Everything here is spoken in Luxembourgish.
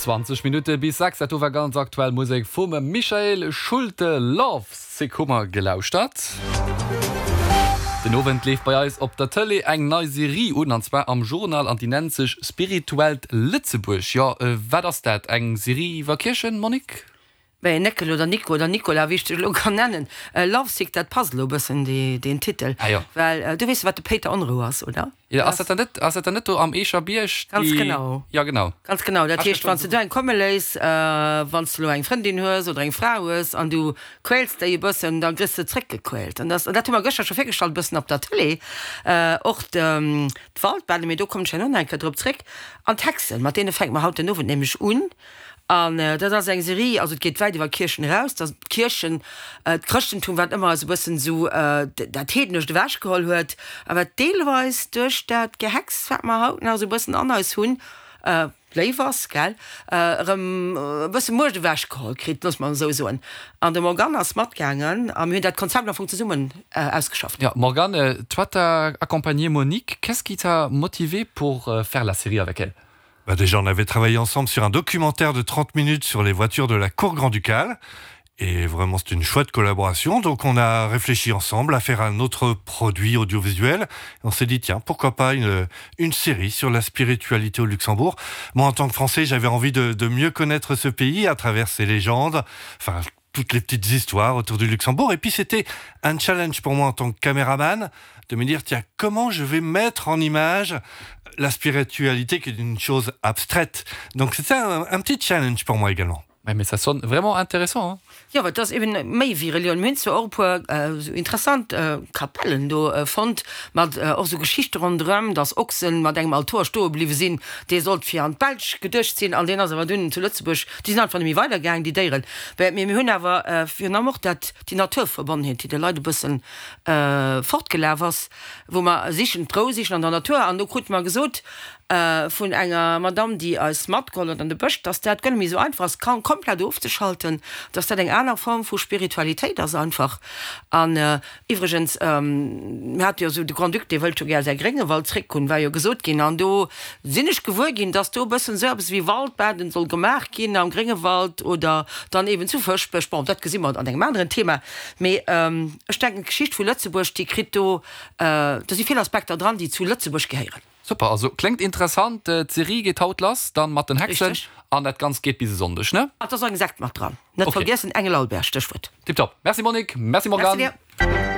20 Minutte bis 6, dat do war ganz aktuell Musek vum Michael Schulte, Love Sick hu mer gelauschtert. Den Owend leeft bei eis op der Tëlee eng nei Serie un, an zwar am Journal, an déi nennt sech Spirituellt Lëtzebuerg. Jo, wat ass dat? Eng Serie iwwer Kierchen, Monique? Mä Néckel oder Nico oder Nicolas, wéi ech dech elo kann nennen, Love Sick, dat passt elo e bëssen, deen Titel. Ah jo. Well du weess, wat de Péiter Onrou ass, oder? Jo, ass dat dann net, ass dat dann net do am Eecher Bierg? Ganz genau. Jo, genau. Ganz genau. Dat heescht, wann s de do eng komme léiss, wann s de elo eng Frëndin hues oder eng Fra hues an du quäls déi e bëssen, da kriss de zréckgequält. An dat, dat hu mer gëschter scho virgestallt e bëssen op der Tëlee, och d'Waldbaden, mee do kommen ech herno nach eng Kéier drop zréck. An d'Hexen, mat deene fänke mer haut den Owend nämlech un. An dat ass eng Serie, also et geet wäit iwwer Kierchen eraus, dass d'Kierchen, d'Chrëschtentum, wat ëmmer eis e bëssen esou dat Heednescht ewechgeholl huet, a wat deelweis duerch dat Gehex, wat mer haut nach esou e bëssen an eis hunn, léif ass, gell, erëm e bësse Muecht ewechgeholl kritt, loosse mer esou soen. An de Morgane ass matgaangen a mir hunn dat Konzept am Fong zesummen ausgeschafft. Jo, Morgane, toi t'as accompagné Monique, qu'est-ce qui t'a motivée pour faire la série avec elle? Bah déjà, on avait travaillé ensemble sur un documentaire de 30 minutes sur les voitures de la cour grand-ducale. Et vraiment, c'est une chouette collaboration. Donc on a réfléchi ensemble à faire un autre produit audiovisuel. On s'est dit, tiens, pourquoi pas une, une série sur la spiritualité au Luxembourg. Moi, en tant que Français, j'avais envie de, de mieux connaître ce pays à travers ses légendes, enfin, toutes les petites histoires autour du Luxembourg. Et puis c'était un challenge pour moi en tant que caméraman de me dire, tiens, comment je vais mettre en image la spiritualité qui est une chose abstraite. Donc c'était un, un petit challenge pour moi également. Ouais, mais ça sonne vraiment intéressant hein. Jo, well et ass eben méi wéi Relioun. Mir hunn zwar och e puer esou interessant Kapellen do fonnt, mat och esou Geschichte ronderëm, dass Ochsen mat engem Altor stoe bliwwe sinn, dee sollt fir an d'Belsch geduecht sinn an deen ass awer dunn zu Lëtzebuerg, déi sinn einfach net méi weidergaangen, déi Déieren. Mee mir hunn awer virun allem och dat, déi Naturverbonnenheet, déi de Leit e bëssen fortgelaf ass, wou mer sichen, d'Rou sichen an der Natur. An do krute mer gesot vun enger Madamm, déi eis matgeholl huet an de Bësch, dass dat guer net méi esou einfach ass, komplett ofzeschalten, dass dat eng aner Form vu Spiritualitéit ass einfach. An iwwregens, mir hate jo esou, de Grand-Duc, dee wëllt jo gär säi Gréngewald zréckhunn, war jo gesot ginn. An do sinn ech gewuer ginn, dass do e bëssen esou eppes wéi Waldbaden soll gemaach ginn am Gréngewald oder dann eeben zu Fëschbech. Bon, dat gesi mer an engem aneren Thema. Mee ech denken, d'Geschicht vu Lëtzebuerg, déi kritt do, do si vill Aspekter dran, déi zu Lëtzebuerg gehéieren. Super, also kléngt interessant. D'Serie geet haut lass, dann mat den Hexen Richteg. an dat Ganzt geet bis e Sonndeg, ne? An et ass och eng Sekt mat dran, net Ok. vergiessen, Engel Albert, Stéchwuert. Tiptop. Merci Monique, merci Merci Morgane. dir.